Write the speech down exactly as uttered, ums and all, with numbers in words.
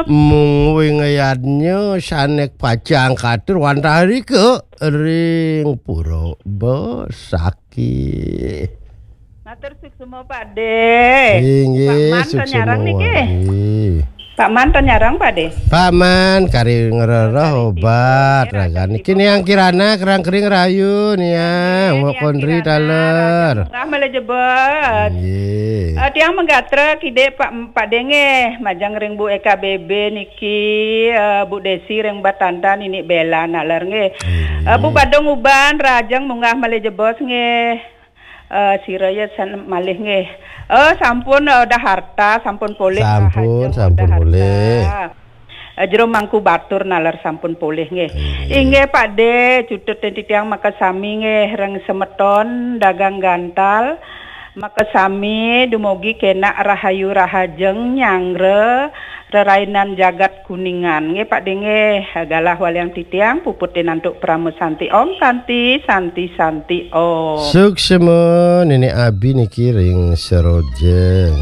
Mung wingayadnya sané pacang katur wantah rika ring pura Besaki. Matur suksma, Pak De. Inggih, Pak Man, suksma nyarang niki. Wari. Pak Man, to nyarang, Pak De? Pak Man, kari ngrereh obat ragan niki. Ning Kirana, kerang kering rayu, ning Mbok Kondri taler. Rah malih jebos. Nggih. Eh, tiang manggatra kidik Pak, Pak De nggih, majeng ring Bu E K B B niki, eh, Bu Desi ring Batantan, Nini Bela naler nggih. Nggih. Eh, Bu Badung Uban, rahajeng munggah malih jebos nggih. Eh, sira ya san-, malih nggih. Eh, sampun, eh, Uda Harta, sampun polih. Sampun, rahajeng sampun Uda Harta polih. Eh, Jero Mangku Batur naler sampun polih nggih. Nggih. Inggih Pak De, cutut titiang makasami nggih ring semeton dagang gantal. Makasami dumugi kenak rahayu rahajeng nyanggra rerainan jagat Kuningan. Nggih Pak De nggih, galah waliang titiang puput tinantuk Parama Santi Om, Santi, Santi, Santi Om. Suksma Nenek Abi niki ring Seroja.